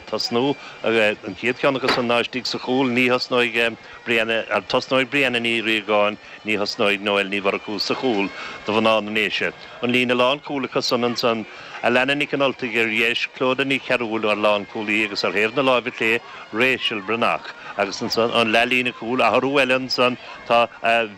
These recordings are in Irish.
Tosnú, An chéad cheann acu san ná istigh sa chúl, ní thosnóidh Brianna, tosnóidh Brianna Ní Riagáin, ní thosnóidh Noelle Ní Mhurchú sa chúl do mhná na nDéise. An líne lánchúil acu san ansan, Alana Nic an Ultaigh ar dheis, Clodagh Ní Chearúil mar lánchúlaí agus ar thaobh na láimhe clé, Rachel Breathnach. Agus ansan an leathlíne cúil, athrú eile ansan, tá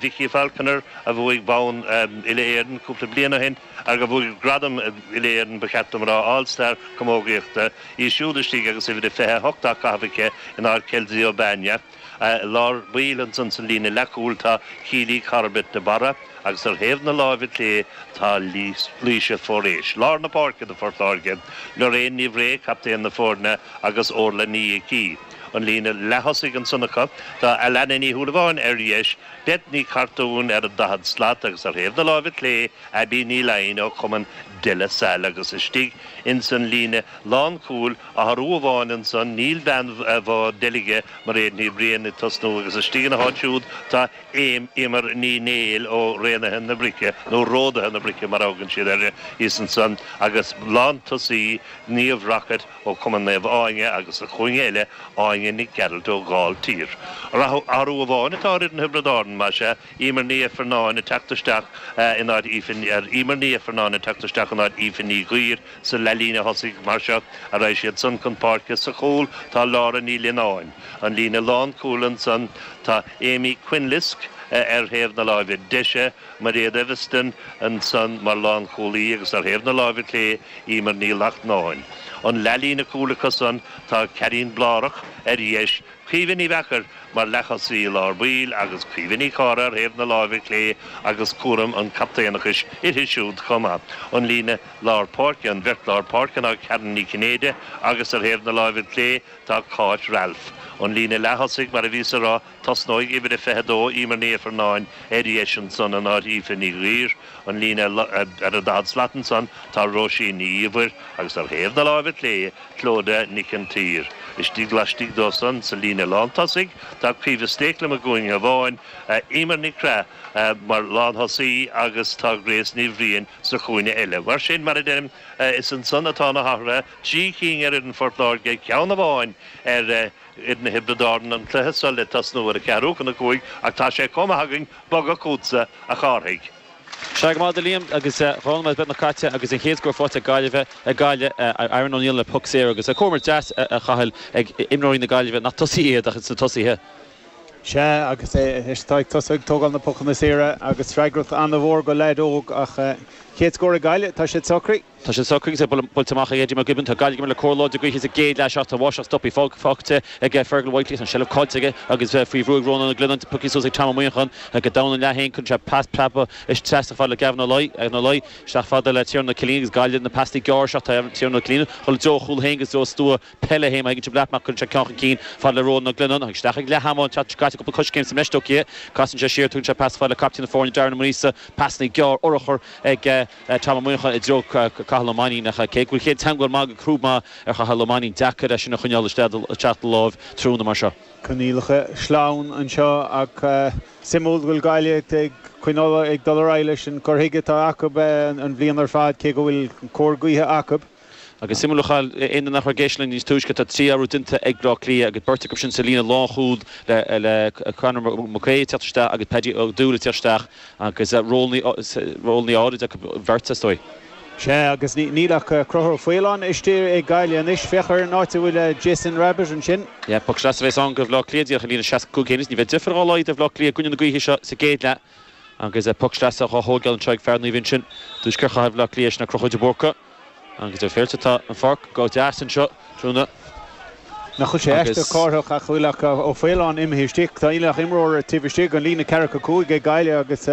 Vicky Falconer a bhuaigh bonn Uile-Éireann cúpla bliain ó shin, a bhuaigh gradam Uile-Éireann, ba cheart dom a rá, All Star Camógaíochta, í siúd istigh agus uimhir a 28 á caitheamh aici in áit Kelsey O'Bania. I lár baill ansan sa líne leathchúil tá Keely Corbett de Barra agus ar thaobh na láimhe clé tá Laoise Foraois. Lár na páirce do Phort Láirge, Lorraine Ní Bhrae, captaen na foirne agus Orla Ní Icí. An líne leath-thosaigh ansan acu tá Alana Ní Shúilleabháin ar dheis, Beth Ní Chartúin ar an daichead slat agus ar thaobh na láimhe clé Abby Ní Laighin ó chumann De La Salle agus istigh ins an líne lánchúil, athrú amháin ansan, níl bean Bhá Deilge, Mairéad Ní Bhriain ag tosnú agus istigh ina háit siúd tá Eimear Ní Néill ó Raonaithe na Brice, nó Ródaithe na Brice mar a thugann siad uirthi, thíos ansan agus lántosaí Niamh Rockett ó Chumann Naomh Áine agus sa chúinne eile Áine Nic Gearailt ó Ghailltír. Athrú amháin atá ar fhoireann Thiobraid Árann, más ea, Emer Ní Ifearnáin ag teacht isteach in áit Aoife Emer Ní Ifearnáin ag teacht isteach in áit Aoife Ní Ghuill sa leathlíne thosaigh. Mar seo a raghaidh siad san chun páirce. Sa chúl tá Laura Ní Lionáin. An líne lánchúil ansan tá Amy Quinlisk ar thaobh na láimhe deise, Mairéad Eviston ansan mar lánchúlaí agus ar thaobh na láimhe clé Emer Ní Lachtnáin. An leathlíne cúil acu san tá Karine Blárach ar dheis, Caoimhe Ní Mheachair mar leath-thosaí i lár baill agus Caoimhe Ní Charra ar thaobh na láimhe clé agus cúram an chaptaenachais uirthi siúd chomh maith. An líne lár páirce, an bheirt lár páirce ná Karen Ní Chinnéide agus ar thaobh na láimhe clé tá Cáit Ralph. An líne leath-thosaigh, mar a bhíos a rá, tosnóidh uimhir a 22, Emer Ní Ifearnáin, ar dheis ansan in áit Aoife Ní Ghuill. An líne ar an daichead slat ansan tá Róisín Ní Íomhair agus ar thaobh na láimhe clé Clodagh Nic an tSaoir. Istigh laistigh dó san, sa líne lántosaigh, tá Caoimhe Stakelum i gcúinne amháin, Emer Nic Craith mar lánthosaí agus tá Grace Ní Bhriain sa chúinne eile. Mar sin, mar a deirim, is ansan atá na hathruithe, trí cinn ar fhoireann Phort Láirge, ceann amháin ar fhoireann Thiobraid Árann, an cluiche seo le tosnú ar a ceathrú chun a cúig ach tá sé chomh maith againn bogadh chugatsa, a Chárthaigh. Sea, go maith duit Liam, agus 2 nóiméad beagnach caite agus an chéad scór faighte ag Gaillimh, ag Gaillimh, Aaron O'Neill le poc saor agus comhimirt deas a Chathail ag imreoirí na Gaillimhe, nach tosaithe iad ach ins na tosaithe. Sea, agus é atá ag tosú ag tógáil na pocanna saora agus freagracht an-mhór go leaid óg ach chéad scór ag Gaillimh, tá siad socraithe. Tá siad socraithe agus é buailte amach ag Eddie McGibbon. Tá Gaillimh ag imirt le cóir láidir gaoithe sa gcéad leath seo ach tá báisteach stoptha faighte ag Fergal Whitely. Tá an seilbh caillte aige agus faoi bhrú ag Rónán Ó Glionnáin. Pioctha suas ag Tom Ó Muíneacháin go domhan an leath féin. Cuireann sé pas preabtha trasna fada le Gavin Ó Laoi. Gavin Ó Laoi isteach fada le Tiarnan Ó Cillín agus Gaillimh na pasanna gearr seo. Tá Tiarnan Ó Cillín ag dul i dtreo a chúl féin agus i dtreo stua peile féin. Má thuigeann sibh leat mar cuireann sé ceann chun cinn fada le Rónán Ó Glionnáin. Isteach ag leath ama an tseachtain seo caite cúpla coiscéim sa mbreis tógtha. Casann sé siar, tugann sé pas fada le captaen na foirne Darren Ó Maonaosa. Pasanna gearr urchar ag. Tom Ó Muíneacháin i dtreo Cathal Ó Mainnín ach cé go bhfuil chéad teagmháil maith agus crúb maith ar Chathal Ó Mainnín, deacair é sin a choinneáil isteach de láimh tráthnóna mar seo. Coinníollacha sleamhain anseo ach suimiúil go bhfuil Gaillimh ag coinneáil ag dul ar aghaidh leis an gcur chuige atá acu an bhliain ar fad cé go bhfuil cóir gaoithe acu. Agus suimiúil a Chathail, aon duine nach raibh ag éisteacht linn níos túisce, tá 3 athrú déanta ag Bleá Cliath agus beirt acu sin sa líne lánchúil le Conor McCrea ag teacht isteach agus Paddy Ó Dúill ag teacht isteach agus rólanna áirid acu bheirt, is dóigh. Sea, agus níl ach Conchúr Ó Faoláin istigh ag Gaillimh anois. Féach ar an áit a bhfuil Jason Rabbitte ansin. Yeah, poc sleasa a bheas ann do Bhleá Cliath díreach ar líne 65 féin. Ní bheidh deifir dhá laghad ar Bhleá Cliath i gcoinne na gaoithe seo sa gcéad leath agus poc sleasa dhá thóigeáil anseo ag fear Naomh Uinseann, Tuaisceart Chathair Bhleá Cliath, sin é Conchúr de Búrca. Agus ar féilte tá an pháirc go deas anseo tráthnóna. Nach bhfuil sé aisteach Cárthach ach bhfuil ach Ó Faoláin imithe istigh. Tá níl ach imreoir taobh istigh den líne ceathracha 5 ag Gaillimh agus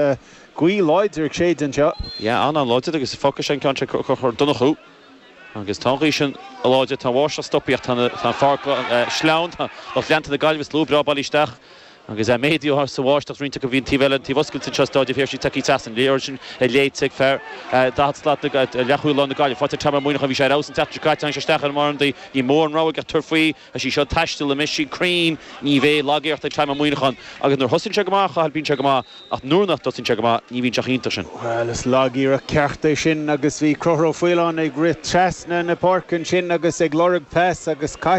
gaoth láidir ag séideadh anseo. Yeah, an-an-láidir agus fágfaidh sé an ceann seo ag Conchúr Ó Donnchú. Agus tá an ghaoth sin láidir, tá an bháisteach stoptha ach tá an pháirc sleamhain, tá lucht leanta na Gaillimhe slua breá bailithe isteach. Agus é méadaithe sa bháisteach roinnt acu, bhí an taobh eile, an taobh oscailte anseo i Stáid an Phiarsaigh tagtha trasna. An liathróid sin léite ag fear 40 slat, leathchúl láir na Gaillimhe. Faighte ag Tom Ó Muineacháin, bhí sé ar fheabhas an tseachtain seo caite, tháinig sé isteach ar an mbarr Ní mór an rogha aige tabhairt faoi. Tá sí seo ag taisteal anois, sí cruinn, ní bheidh lagiarracht ag Tom Ó Muineacháin. Agus nuair thosaíonn sé go maith, a Chathail, bíonn sé go maith, ach nuair nach dtosaíonn sé go maith, ní bhíonn sé chomh hiontach sin. Bhuel, is lagiarracht ceart é sin agus bhí Conchúr Ó Faoláin ag rith trasna na páirce ansin agus ag lorg pas agus caite.